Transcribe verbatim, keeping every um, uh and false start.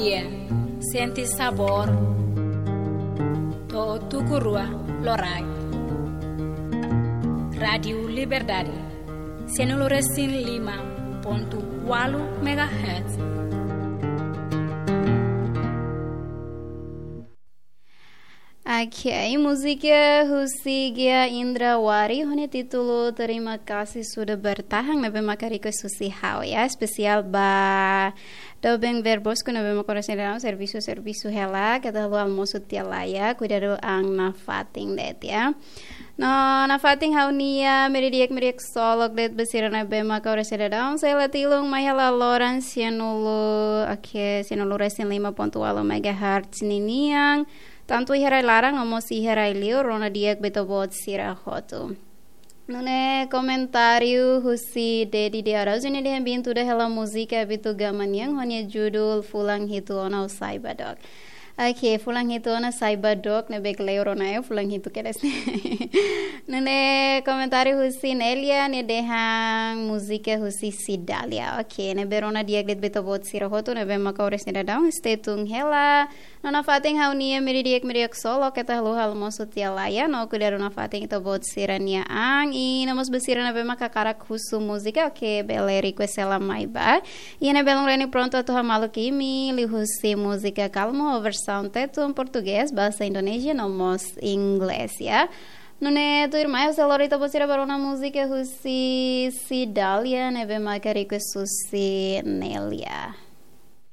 Iya, sente sabór to'o tuku rua loraik. Rádiu Liberdade, sianulu resin lima pontu ualu megahertz. Ok, múzika husi Gia Indra Wari, ho nia títulu Terima Kasih Sudah Bertahan, ne'ebé maka request husi ha'u, ya, espesiál ba doben Ver Bosco ne'ebé maka oras ne'e daudaun servisu, servisu hela, keta haluha almosu tiha laiha, kuidadu an nafatin de'it, ya. No, nafatin ha'u-nia, media di'ak, media ksolok de'it ba sira ne'ebé maka oras ne'e daudaun, sei la tilun mai hela loron sianulu, ok, sianulu resin lima pontu ualu megahertz ninian, tantu iha rai laran, no mós iha rai liur, rona di'ak ba ita-boot sira hotu. Nune'e komentáriu husi Dedi de Araújo, nia dehan bin tuda hela múzika Vitu Gama nian, ho nia judul Fulan Hitu Ona ou Sai Ba Dook. Ok, Fulan Hitu Ona Sai Ba Dook, ne'ebé kleur ona, ya, fulan hitu kedas ne'e. Nune'e komentáriu husi Nelia, nia dehan múzika husi Cidália. Ok, ne'ebé rona di'ak de'it ba ita-boot sira hotu, ne'ebé maka oras ne'e daudaun, stay tune hela. No nafatin ha'u-nia, media di'ak, media ksolok, keta haluha almosu tiha laiha, no kuidadu nafatin ita-boot sira-nia an, i no mós ba sira ne'ebé maka hakarak husu múzika, ok, bele request hela mai ba. Iha ne'e belun reni prontu atu hamaluk imi, liuhusi múzika Calmo, versaun Tetun, portugés, bahasa Indonézia, no mós inglés, ya. Nune'e tuirmai, ha'u sei lori ita-boot sira ba rona múzika husi Cidália, ne'ebé maka request husi Nelia.